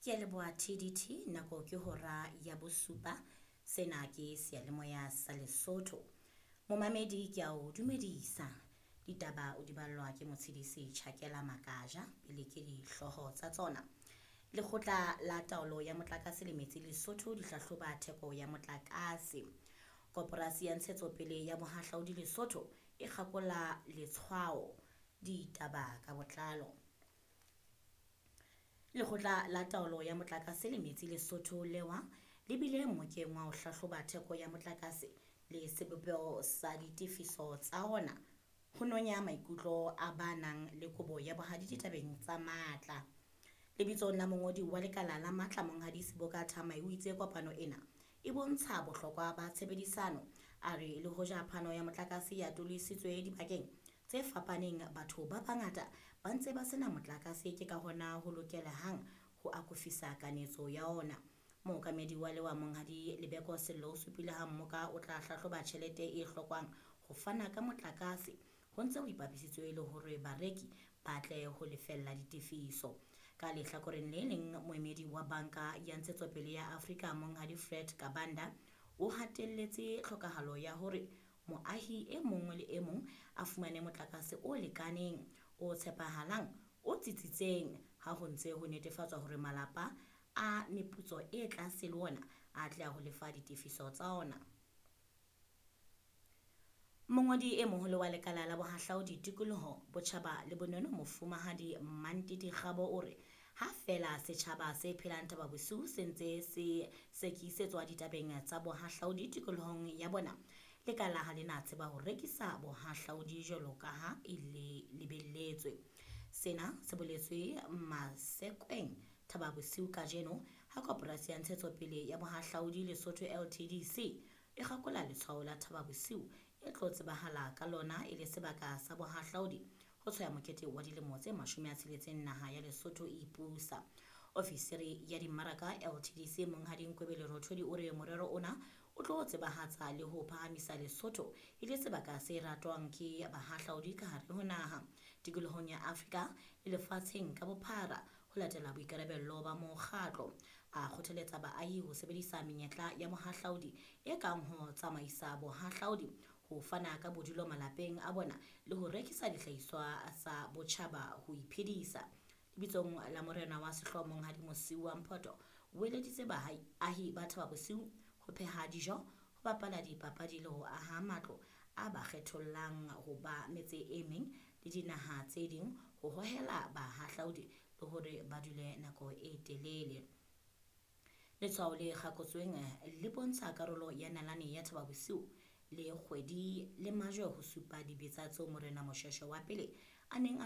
Ke a leboha TDT nako ke hora ya bosupa. Sena ke seyalemoya sa Lesotho. Momamedi ke a o dumedisa. Ditaba o di ballwa ke Motshidisi Chakela Makaja pele ke dihlooho tsa tsona. Lekgotla la taolo ya motlakase le metsi Lesotho di hlahloba theko ya motlakase. Koporasi ya ntshetsopele ya bohahlaudi Lesotho e kgakola letshwao. Ditaba ka botlalo. Lekgotla la taolo ya motlakase le metsi Lesotho lewa le bile mmokeng wa ho hlahloba theko ya motlakase le sebopeho sa ditefiso tsa ona ho nonya maikutlo a ba nang le kobo ya bohadi ditabeng tsa matla. Lebitsong la mongodi wa lekala la matla Monghadi Seboka Thamae o itse kopano ena e bontsha bohlokwa ba tshebedisano. A re le hoja phano ya motlakase e atolositswe dibakeng tse fapaneng, batho ba bangata ba ntse ba sena motlakase, ke ka hona ho lokelehang ho akofisa kanetso ya ona. Mookamedi wa lewa Monghadi Lebeko Sello o supile ha mmoka o tla hlahloba tjhelete e hlokwang ho fana ka motlakase ho ntse ho ipapisitswe le hore bareki ba tle ho lefella ditefiso. Ka lehlakoreng le leng, moemedi wa Banka ya Ntshetsopele ya Afrika Monghadi Fred Kabanda o hatelletse tlhokahalo ya hore moahi e mong le e mong a fumane motlakase o lekaneng, o tshepahalang, o tsitsitseng ha ho ntse ho netefatswa hore malapa a meputso e tlase le ona a atleha ho lefa ditefiso tsa ona. Mongodi e moholo wa lekala la bohahlaudi, tikoloho, botjhaba le bonono Mofumahadi Mantiti Kgabo o re ha feela setjhaba se phelang Thaba Bosiu se ntse se sekisetswa ditabeng tsa bohahlaudi tikolohong ya bona, lekala ha le na tseba ho rekisa bohahlaudi jwalo ka ha e le lebelletswe. Sena se boletswe Masekweng Thaba Bosiu kajeno ha Koporasi ya Ntshetsopele ya Bohahlaudi Lesotho LTDC e kgakola letshwao la Thaba Bosiu e tlo tsebahala ka lona e le sebaka sa bohahlaudi ho tshwaya mokete wa dilemo tse 60 naha ya Lesotho e ipusa. Ofisiri ya dimmaraka LTDC Monghadi Nkwebele Rothodi o re morero ona o tlo tsebahatsa le ho phahamisa Lesotho e le sebaka se ratwang ke bahahlaudi ka hare ho naha, tikolohong ya Afrika le lefatsheng ka bophara ho latela boikarabello ba mokgatlo. A kgothaletsa baahi ho sebedisa menyetla ya bohahlaudi e kang ho tsamaisa bohahlaudi, ho fana ka bodulo malapeng a bona le ho rekisa dihlahiswa tsa botjhaba ho iphedisa. Lebitsong la morena wa sehlooho Monghadi Mosiuwa Mphoto o eleditse baahi ba Thaba Bosiu ho pheha dijo, ho bapala dipapadi le ho aha matlo a ba kgethollang ho ba metse e meng le dinaha tse ding ho hohela bahahlaudi le hore ba dule nako e telele. Letshwao le kgakotsweng le bontsha karolo ya nalane ya Thaba Bosiu le kgwedi le majwe ho supa dibetsa tseo Morena Moshoeshoe wa pele a neng a